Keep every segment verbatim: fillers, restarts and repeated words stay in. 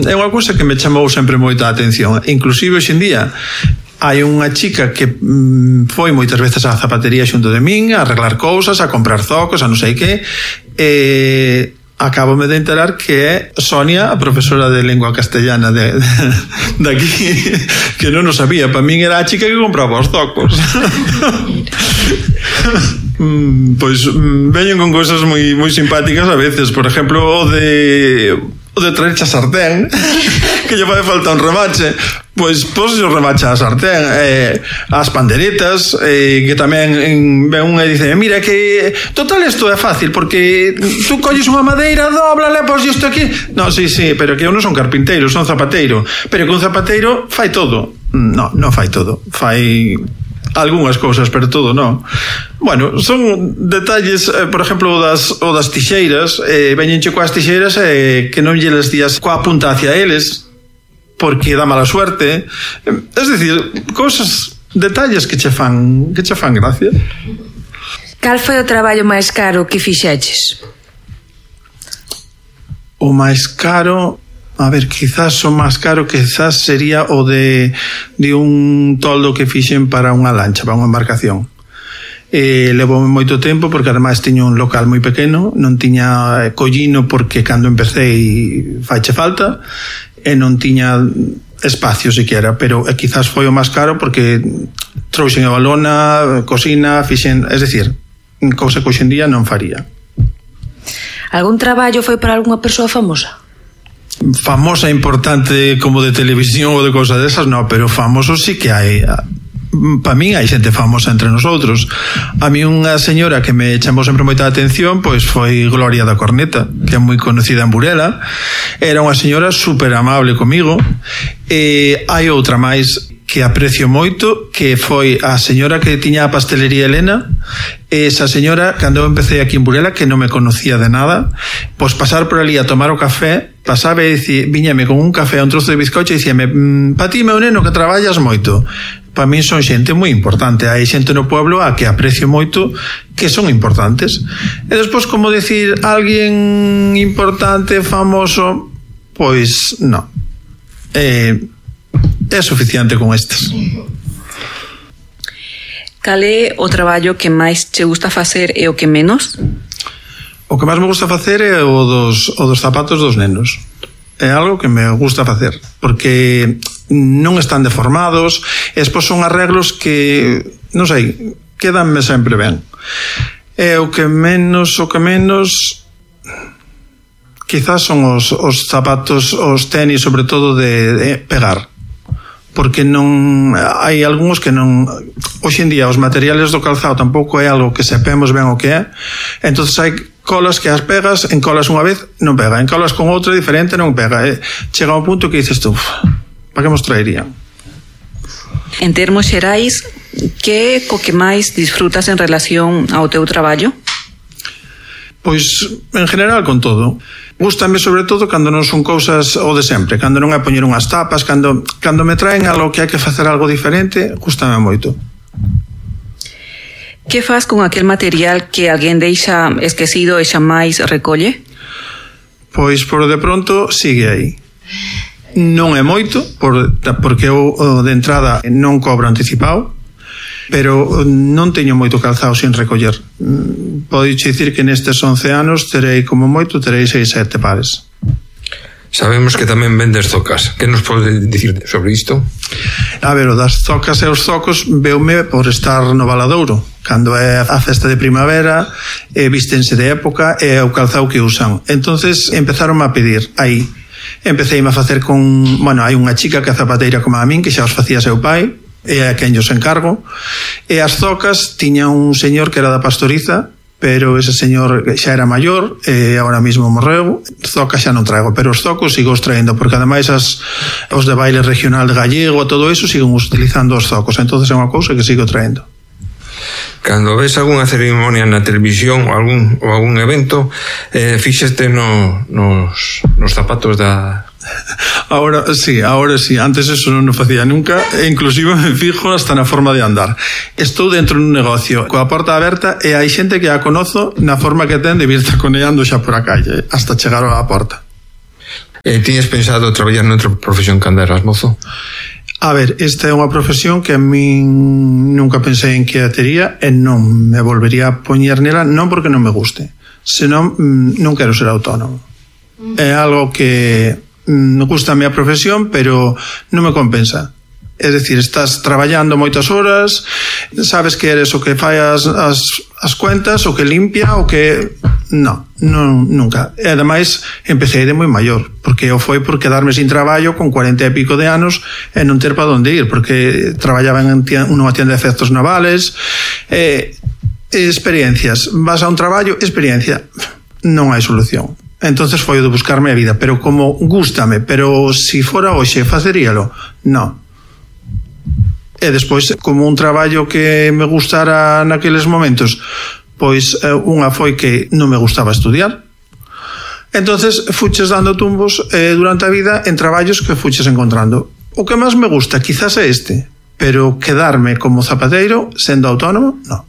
é unha cousa que me chamou sempre moita a atención. Inclusive hoxe en día hai unha chica que mm, foi moitas veces á zapatería xunto de min a arreglar cousas, a comprar zocos, a non sei que, e acabome de enterar que é Sonia, a profesora de lengua castellana de, de, de aquí, que non o sabía. Para min era a chica que compraba os zocos. mm, pois mm, veñen con cousas moi moi simpáticas a veces. Por exemplo, o de o de traerche a sartén, que lle fai falta un remache. Pois pos o remache a sartén, eh, as panderetas, eh, que tamén ven unha e dice, mira que total isto é fácil, porque tú colles unha madeira, dóblala, pos isto aquí. No, sí, sí, pero que eu non son carpinteiro, son zapateiro. Pero que un zapateiro fai todo. No, non fai todo. Fai algunhas cousas, pero todo non. Bueno, son detalles, eh, por exemplo, o das, o das tixeiras, eh, veñenche coas tixeiras eh, que non lle les días coa punta hacia eles, porque dá mala suerte. Es decir, cousas, detalles que che fan, que che fan gracia. Cal foi o traballo máis caro que fixeches? O máis caro, a ver, quizás o máis caro quizás sería o de de un toldo que fixen para unha lancha, para unha embarcación. Eh, levoume moito tempo porque ademais tiña un local moi pequeno, non tiña collino porque cando empecé faiche falta, e non tiña espacio siquiera, pero eh, quizás foi o máis caro porque trouxen a balona, cocina, fixen, es decir, cousa que hoxe en día non faría. Algún traballo foi para algunha persoa famosa? Famosa, importante, como de televisión ou de cousas desas, non, pero famoso sí que hai. Para min hai xente famosa entre nosotros. A mí unha señora que me chamou sempre moita atención pois foi Gloria da Corneta, que é moi conocida en Burela. Era unha señora super amable comigo. E hai outra máis que aprecio moito, que foi a señora que tiña a pastelería Elena. Esa señora, cando eu empecé aquí en Burela, que non me conocía de nada, pois pasar por ali a tomar o café, pasaba e dicía, viñame con un café a un trozo de bizcocho e dicíame, pa ti, meu neno, que traballas moito. Para min son xente moi importante. Hai xente no pueblo a que aprecio moito, que son importantes. E despois, como decir, alguén importante, famoso, pois non. Eh, é suficiente con estes. Cal é o traballo que máis che gusta facer e o que menos? O que máis me gusta facer é o dos, o dos zapatos dos nenos. É algo que me gusta facer, porque non están deformados, e despois son arreglos que, non sei, quedanme sempre ben. E o que menos, o que menos, quizás son os, os zapatos, os tenis, sobre todo de, de pegar. Porque non hai algúns que non, hoxe en día os materiales do calzado tampouco é algo que sepemos ben o que é, entonces hai colas que as pegas, en colas unha vez non pega, en colas con outra diferente non pega, e chega un punto que dices tú, para que nos traerían? En termos xerais, que co que máis disfrutas en relación ao teu traballo? Pois, en general, con todo. Gústame sobre todo cando non son cousas o de sempre, cando non é poñer unhas tapas, cando, cando me traen algo que hai que facer algo diferente, gústame moito. Que faz con aquel material que alguén deixa esquecido e xa máis recolle? Pois, por de pronto, sigue aí. Non é moito, por, porque eu de entrada non cobro anticipado, pero non teño moito calzado sin recoller. Podes dicir que nestes once anos terei como moito, terei seis, sete pares. Sabemos que tamén vendes zocas. Que nos podes dicir sobre isto? A ver, o das zocas e os zocos veume por estar no Valadouro. Cando é a festa de primavera, e vístense de época, e o calzado que usan. Entonces empezaron a pedir aí. Empeceime a facer con... Bueno, hai unha chica que é zapateira como a min, que xa os facía seu pai, e a quen os encargo, e as zocas tiña un señor que era da Pastoriza, pero ese señor xa era maior e agora mismo morreu. Zocas xa non traigo, pero os zocos sigo os traendo, porque ademais as, os de baile regional de gallego, todo eso, siguen utilizando os zocos, entonces é unha cousa que sigo traendo. Cando ves algunha ceremonia na televisión ou algún, ou algún evento, eh, fíxeste no, nos, nos zapatos da... Ahora sí, ahora sí, antes eso non o facía nunca, e inclusive me fijo hasta na forma de andar. Estou dentro dun negocio coa porta aberta e hai xente que a conozo na forma que ten de vir taconeando xa por a calle hasta chegar á porta. Eh, tiñes pensado traballar noutra profesión cando eras mozo? A ver, esta é unha profesión que a min nunca pensei en que a tería e non me volvería a poñer nela, non porque non me guste, senón non quero ser autónomo. É algo que me gusta a miña profesión, pero non me compensa. É dicir, estás traballando moitas horas, sabes que eres o que fai as, as, as cuentas, o que limpia, o que... Non, non, nunca. E ademais, empecé de moi maior, porque eu foi por quedarme sin traballo con cuarenta e pico de anos e non ter para onde ir, porque traballaba en unha tienda de efectos navales, e, e experiencias. Vas a un traballo, experiencia. Non hai solución. Entonces foi o de buscarme a vida, pero como gústame, pero si fora hoxe faceríalo, non. E despois, como un traballo que me gustara naqueles momentos, pois unha foi que non me gustaba estudiar. Entonces fuches dando tumbos eh, durante a vida en traballos que fuches encontrando. O que máis me gusta quizás é este, pero quedarme como zapateiro sendo autónomo, non.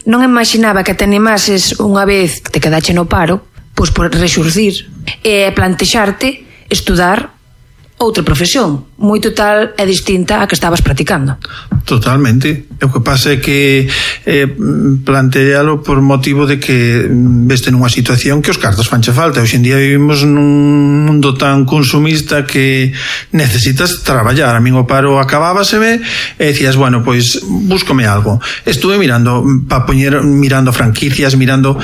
Non imaginaba que te animases unha vez que te quedache no paro, pois por rexurcir e plantexarte estudar outra profesión, moi total e distinta a que estabas practicando. Totalmente. O que pasa é que eh, plantealo por motivo de que veste nunha situación que os cartos fanche falta. Hoxe en día vivimos nun mundo tan consumista que necesitas traballar. A min o paro acabábaseme e decías, bueno, pois búscome algo. Estuve mirando pa poñer, mirando franquicias, mirando...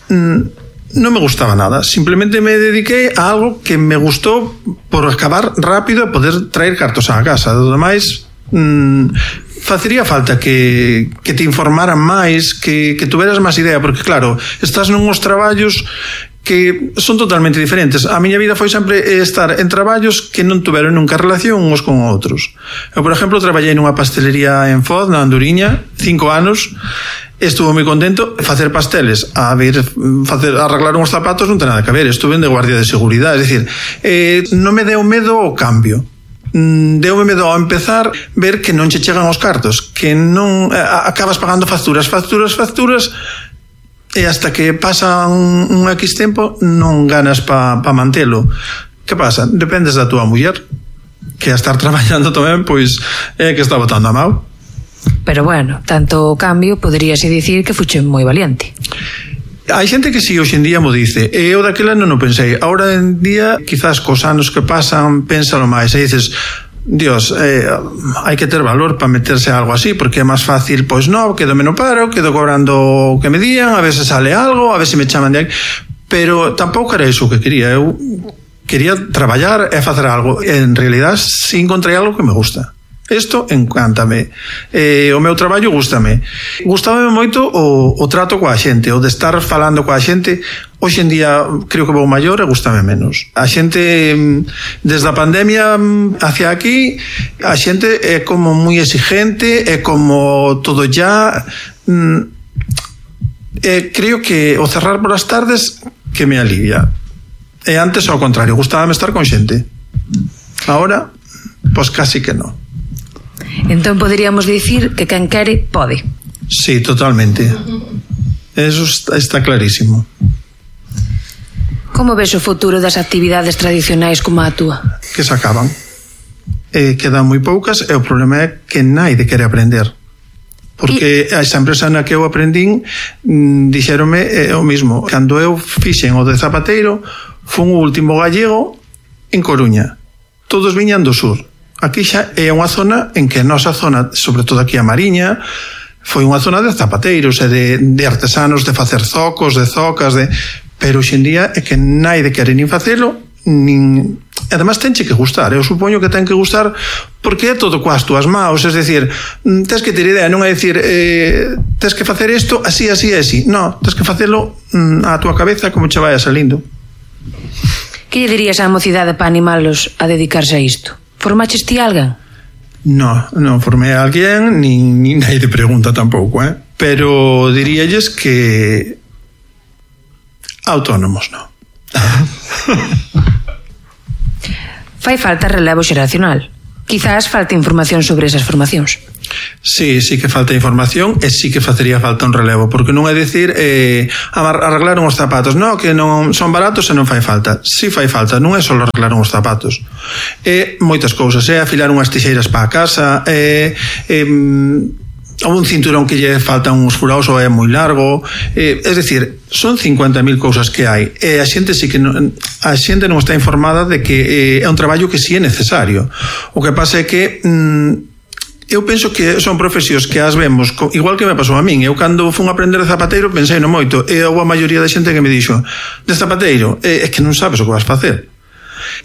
Mm, non me gustaba nada, simplemente me dediquei a algo que me gustou por acabar rápido e poder traer cartos á casa. Do demais, mmm, facería falta que, que te informaran máis, que, que tuveras máis idea, porque claro, estás nuns traballos que son totalmente diferentes. A miña vida foi sempre estar en traballos que non tuveron nunca relación uns con outros. Eu, por exemplo, traballei nunha pastelería en Foz, na Anduriña, cinco anos. Estuve moi contento. Facer pasteles, a ver, facer, arreglar uns zapatos non ten nada que ver. Estuve de guardia de seguridade. É dicir, eh, non me deu medo o cambio. Deume medo ao empezar ver que non che chegan os cartos, que non eh, acabas pagando facturas, facturas, facturas, e hasta que pasa un, un X tempo non ganas pa, pa mantelo. Que pasa? Dependes da túa muller, que a estar traballando tamén, pois é que está botando a mau. Pero bueno, tanto o cambio poderíase dicir que fuche moi valiente. Hai xente que si hoxe en día mo dice, e eu daquela non o pensei. Ahora en día, quizás cos anos que pasan, pénsalo máis, e dices, Dios, eh, hai que ter valor para meterse a algo así, porque é máis fácil, pois non, quedo menos paro, quedo cobrando o que me dían, a veces sale algo, a veces me chaman de aquí, pero tampouco era iso que quería. Eu quería traballar e facer algo, e en realidad si encontrei algo que me gusta. Isto encántame. Eh, o meu traballo gústame. Gústame moito o, o trato coa xente, o de estar falando coa xente. Hoxe en día creo que vou maior e gústame menos. A xente, desde a pandemia hacia aquí, a xente é como moi exigente, é como todo ya. Eh, creo que o cerrar por as tardes que me alivia. E antes ao contrario, gustábame estar con xente. Ahora, pois casi que non. Entón poderíamos dicir que quen quere pode. Sí, totalmente. Eso está, está clarísimo. Como ves o futuro das actividades tradicionais como a túa? Que se acaban. Eh, quedan moi poucas e o problema é que naide quere aprender. Porque a esa empresa na que eu aprendín dixéronme eh, o mismo. Cando eu fixen o de zapateiro, fun o último gallego en Coruña. Todos viñan do sur. Aquí xa é unha zona en que a nosa zona, sobre todo aquí a Mariña, foi unha zona de zapateiros e de, de artesanos, de facer zocos, de zocas, de... pero hoxendía é que naide quere nin facelo, nin... además tenche que gustar, eu supoño que ten que gustar porque é todo coas túas maus, es decir, tens que ter idea, non é dicir eh, tens que facer isto así, así, así, non, tens que facelo á túa cabeza como che vaya salindo. Que lle dirías á mocidade para animalos a dedicarse a isto? Formaches ti alguén? No, non formei a alguén, nin, nin naide pregunta tampouco, eh? Pero diríalles que autónomos non. Fai falta relevo xeracional. Quizás falta información sobre esas formacións. Sí, sí que falta información e sí que facería falta un relevo, porque non é dicir eh, arreglar uns zapatos, non, que non son baratos e non fai falta. Si fai falta, non é só arreglar uns zapatos, é moitas cousas, é afilar unhas tixeiras para a casa, é, é ou un cinturón que lle faltan uns furaos ou é moi largo, eh, é dicir, son cincuenta mil cousas que hai e a xente sí que non, a xente non está informada de que eh, é un traballo que sí é necesario. O que pasa é que mm, eu penso que son profesións que as vemos, igual que me pasou a min. Eu cando fun a aprender de zapateiro pensei no moito e houve a maioría da xente que me dixo de zapateiro, é, é que non sabes o que vas facer.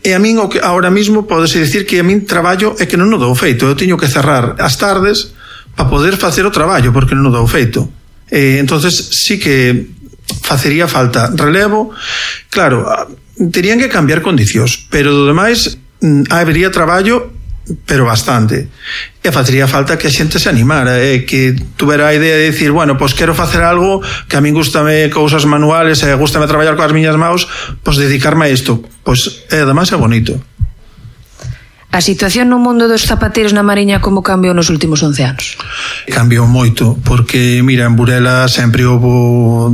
E a min o que ahora mismo podese dicir que a min traballo é que non o dou feito, eu teño que cerrar as tardes para poder facer o traballo, porque non o dou feito. Eh, entonces sí que facería falta relevo. Claro, terían que cambiar condicións, pero do demais habería traballo, pero bastante. E facería falta que a xente se animara, eh, que tuvera a idea de decir, bueno, pois pues quero facer algo que a min gustame cousas manuales e gustame traballar coas miñas maus, pois pues dedicarme a isto. Pois pues, é ademais é bonito. A situación no mundo dos zapateiros na Mariña como cambiou nos últimos once anos? Cambiou moito, porque, mira, en Burela sempre houve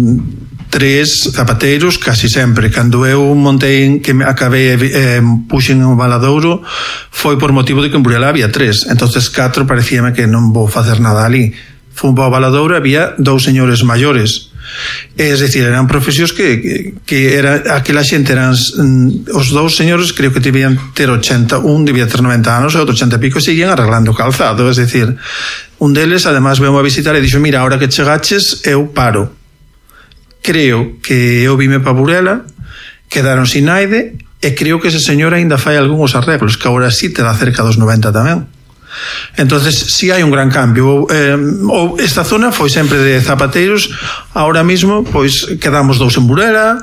tres zapateiros, casi sempre. Cando eu montei, que me acabei eh, puxen un Valadouro, foi por motivo de que en Burela había tres. Entonces catro parecíame que non vou facer nada ali. Fun para o Valadouro, había dous señores maiores. Es decir, eran profesións que, que, que era, aquela xente eran os dous señores, creo que debían ter ochenta, un debía ter noventa anos e outro ochenta e pico, e seguían arreglando calzado. Es decir, un deles además veu a visitar e dixo, mira, ahora que chegaches eu paro. Creo que eu vime para Burela, quedaron sin naide e creo que ese señor aínda fai algúns arreglos, que agora sí te dá cerca dos noventa tamén. Entonces si sí hai un gran cambio. eh, ou esta zona foi sempre de zapateiros, ahora mismo pois quedamos dous en Burela,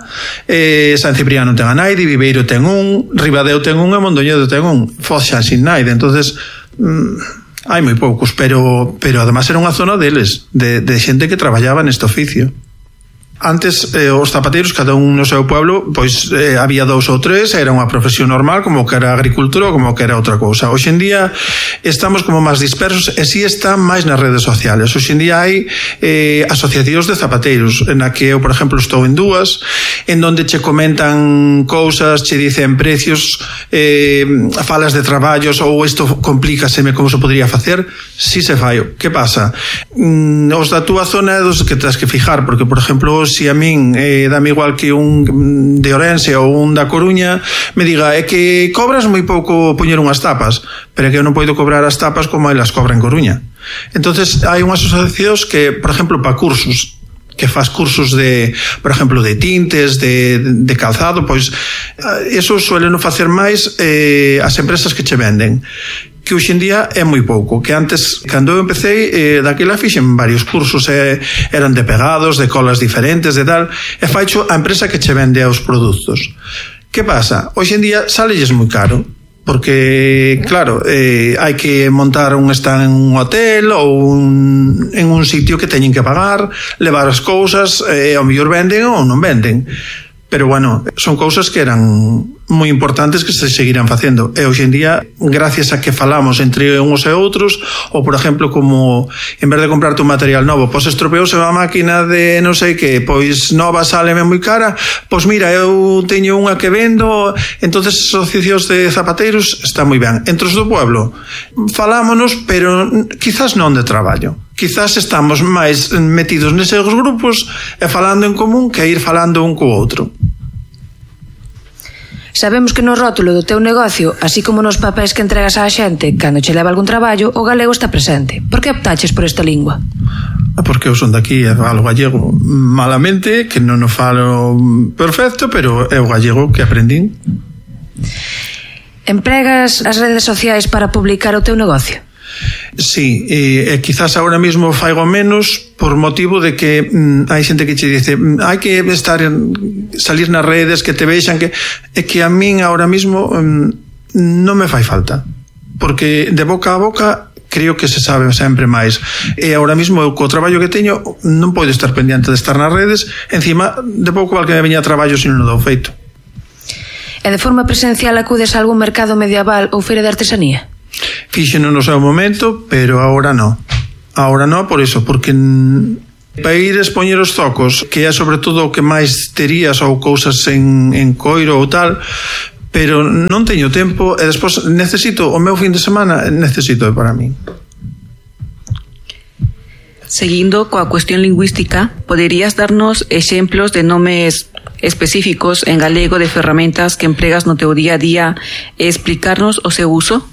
eh, San Cipriano ten a naide, Viveiro ten un, Ribadeo ten un e Mondoñedo ten un, Foz xa sin naide. Entonces mm, hai moi poucos, pero pero además era unha zona deles, de, de xente que traballaba neste oficio. Antes eh, os zapateiros, cada un no seu pueblo, pois eh, había dous ou tres, era unha profesión normal, como que era agricultura ou como que era outra cousa. Hoxe en día estamos como máis dispersos e si están máis nas redes sociales. Hoxe en día hai eh, asociacións de zapateiros, en a que eu, por exemplo, estou en dúas, en donde che comentan cousas, che dicen precios, eh, falas de traballos, ou isto complícaseme como se podría facer. Si se fai. Que pasa? Mm, os da túa zona é dos que tens que fijar, porque, por exemplo, si a min eh, dame igual que un de Ourense ou un da Coruña me diga, é que cobras moi pouco poñer unhas tapas, pero é que eu non podo cobrar as tapas como elas cobran en Coruña. Entonces hai unhas asociacións que, por exemplo, para cursos, que faz cursos de, por exemplo, de tintes, de, de calzado, pois eso suelen facer máis eh, as empresas que che venden, que hoxe en día é moi pouco, que antes, cando eu empecé, eh, daquela fixen varios cursos, eh, eran de pegados, de colas diferentes, de tal, e faicho a empresa que che vende os produtos. Que pasa? Hoxe en día salelles moi caro, porque, claro, eh, hai que montar un stand en un hotel ou un, en un sitio que teñen que pagar, levar as cousas, e eh, ao mellor venden ou non venden. Pero, bueno, son cousas que eran moi importantes que se seguirán facendo. E hoxe en día, gracias a que falamos entre uns e outros, ou, por exemplo, como en vez de comprarte un material novo, pois estropeouse a máquina de non sei que, pois nova sáleme moi cara, pois mira, eu teño unha que vendo, entonces asociacións de zapateiros está moi ben. Entre os do pueblo, falámonos, pero quizás non de traballo. Quizás estamos máis metidos neses grupos e falando en común que ir falando un co outro. Sabemos que no rótulo do teu negocio, así como nos papéis que entregas á xente cando che leva algún traballo, o galego está presente. Por que optaches por esta lingua? Porque eu son daqui e falo gallego malamente, que non o falo perfecto, pero é o gallego que aprendín. Empregas as redes sociais para publicar o teu negocio? Sí, e, e quizás ahora mismo faigo menos por motivo de que mm, hai xente que che dice mm, hai que estar en, salir nas redes, que te vexan, que é que a min ahora mismo mm, non me fai falta, porque de boca a boca creo que se sabe sempre máis, e ahora mismo eu co traballo que teño non podo estar pendiente de estar nas redes, encima de pouco val que me veña a traballo se non o dou feito. E de forma presencial acudes a algún mercado medieval ou feira de artesanía? fíxeno no seu momento, pero agora non. Agora non, por iso, porque para ir expoñer os zocos, que é sobre todo o que máis terías ou cousas en, en coiro ou tal, pero non teño tempo e despois necesito o meu fin de semana, necesito para mí. Seguindo coa cuestión lingüística, poderías darnos exemplos de nomes específicos en galego de ferramentas que empregas no teu día a día e explicarnos o seu uso?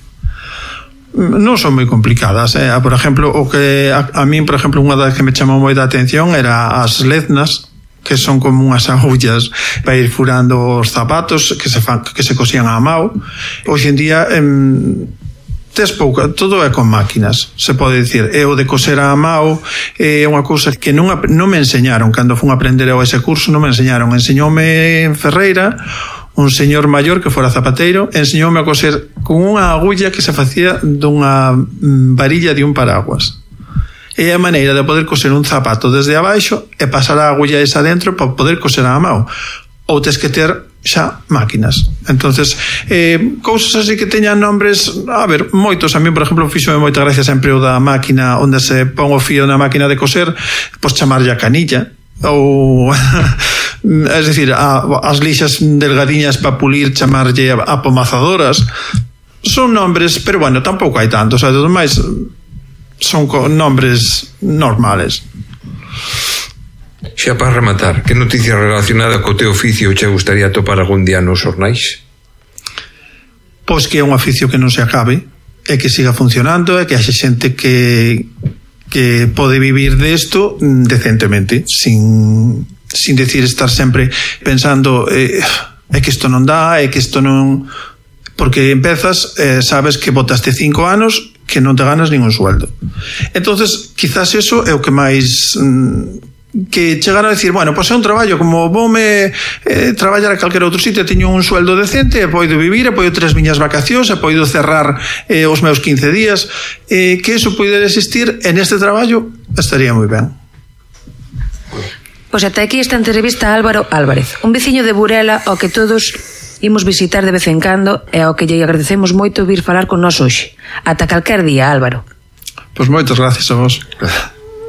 Non son moi complicadas, eh? Por exemplo, o que a, a min, por exemplo, unha das que me chamou moi da atención era as leznas, que son como unhas agullas para ir furando os zapatos que se fan, que se cosían á mao. Hoxe en día em, tes pouca, todo é con máquinas, se pode dicir. E o de coser á mao é unha cousa que non, non me enseñaron cando fun a aprender ese curso, non me enseñaron. Enseñoume en Ferreira un señor maior que fora zapateiro, enseñoume a coser con unha agulla que se facía dunha varilla de un paraguas. É a maneira de poder coser un zapato desde abaixo e pasar a agulla esa dentro para poder coser á mão. Ou tes que ter xa máquinas. Entonces, eh, cousas así que teñan nombres, a ver, moitos. A mí, por exemplo, fíxome moita gracia sempre o da máquina onde se pon o fío na máquina de coser, pois chamarlle a canilla, ou es decir, a, as lixas delgadiñas para pulir chamarlle a, a pomazadoras. Son nombres, pero bueno, tampouco hai tantos, o sea, dos máis son nombres normales. Xa para rematar, que noticia relacionada co teu oficio che gustaría topar algún día nos xornais? Pois que é un oficio que non se acabe e que siga funcionando e que haxe xente que que pode vivir desto decentemente, sin, sin decir estar sempre pensando eh, é que isto non dá, é que isto non... Porque empezas, eh, sabes que botaste cinco anos que non te ganas ningún sueldo. Entonces, quizás eso é o que máis... Mm, que chegar a decir, bueno, pois é un traballo, como voume eh, traballar a calquera outro sitio, teño un sueldo decente, e poido vivir, e poido ter as miñas vacacións, e poido cerrar eh, os meus quince días, eh, que eso poida existir en este traballo, estaría moi ben. Pois ata aquí esta entrevista a Álvaro Álvarez, un veciño de Burela ao que todos imos visitar de vez en cando e ao que lle agradecemos moito vir falar con nós hoxe. Ata calquer día, Álvaro. Pois moitas gracias a vos.